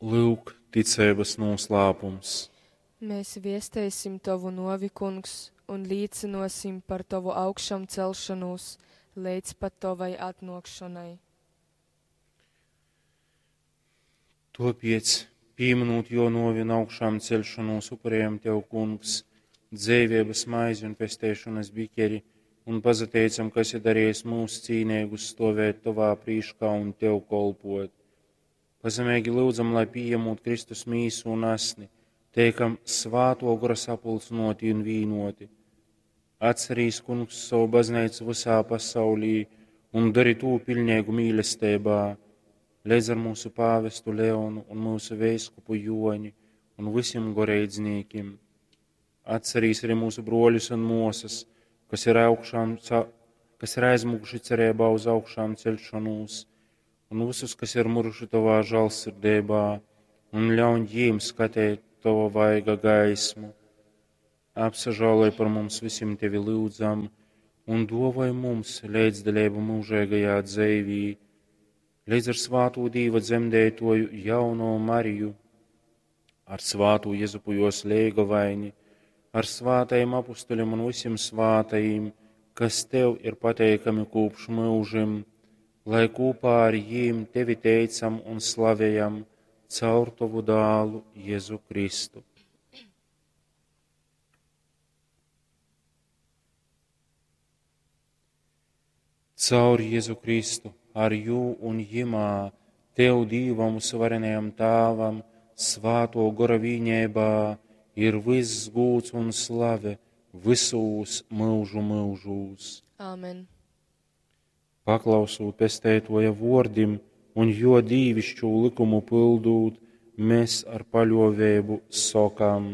Lyuk, ticeibys nūslāpums. Mēs viesteisim tovu nuovi, Kungs, un līcynuosim par tovu augšamcelšonūs leidz pat tovai atnuokšonai. Tuopiec, pīmynūt juo nuovi un augšāmceļšonūs, upurejam tev, Kungs, dzeiveibys maizi un pesteišonys bikeri, un pasateicam, ka esi darejis myus cīneigus stuovēt tovā prīškā un tev kolpuot. Pazemeigi lyudzam, lai pījamūt Kristus mīsu un asni, teikam Svātuo Gora sapulcynuoti un vīnuoti. Atcerīs, Kungs, sovu bazneicu vysā pasaulī un dori tū piļneigu mīlesteibā, leidz ar mūsu pāvestu Leonu un mūsu veiskupu Joni un vysim goreidznīkim. Atcerīs arī mūsu bruoļus un muosys, kas ir, augšām, kas ir aizmuguši cereibā uz augšām ceļšanūs, un visus, kas ir muruši tovā žālsirdībā, un ļauj jīm skatēt tova vaiga gaismu. Apsažāloj par mums vysim tevi lyudzam, un duovoj mums leidzdaleibu mūžeigajā dzeivī, leidz ar svātū Dīva dzemdeitoju jauno Mariju, ar svātū Jezupu jos leigovaini, ar svātajim apustuļiem un visiem svātajim, kas tev ir pateikami kopš mūžim, lai kopā ar jīm tevi teicam un slavējam caur tovu dālu Jēzu Kristu. Caur Jēzu Kristu, ar jū un jimā, tev Dīvam uzvarenajam Tāvam, svāto gora vīņēbā, ir viss gūds un slave visūs mūžu mūžūs. Āmen. Paklausūt pesteitoja vordim un jo dīvišķū likumu pildūt, mēs ar paļovēbu sokam.